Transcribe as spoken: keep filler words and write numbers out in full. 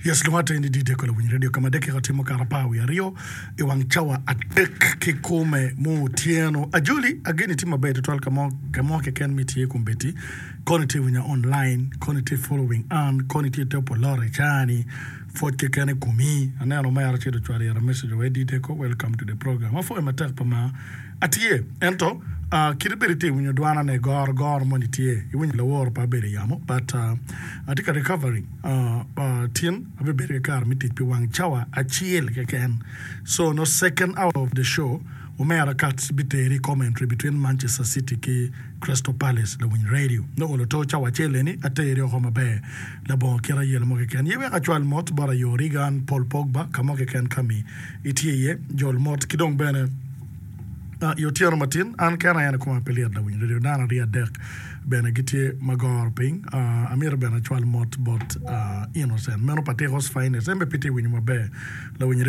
Yes, lungate ni D J Kolo Winyo Radio kama dakika tye mukato apar wiye aryo i wang cawa adek ki kome mu otyeno. Ajoli ageni tye maber tutwal ka mo ka mo keken mi tye kombeddi. Kono itye winya online, kono itye following an, kono itye topo lore cani, pwoc keken i komi. Aneno omera acel ocwalo ira message wa D J Ko, welcome to the program. Apwoyo matek pa ma atye. Ento uh, kit ibed itye winyo dwana ne goro goro moni tye. Iwinyo laworo pa abedo i yamo, but uh, atye ka recovering. Uh, uh, tin abibedo ki kare me tic pi wang cawa acel keken. So no second hour of the show, omera kat biteri commentary between Manchester City ki Crystal Palace lawiny radio. No olo to cawa acel eni ateri oko maber labongo kit ayelo mo keken. Ye wek acwal mot bot ayo Regan, Paul Pogba, ka mo keken kami itye iye, jol mot ki dong bene Uh, i otyeno matin an kena en koma pe lyet lawiny radio dano aryo adek bene gitye ma goro piny. Uh, amito bene acwal mot bot uh, Innocent meno Patikos Finest en be pe tye winyo maber lawiny.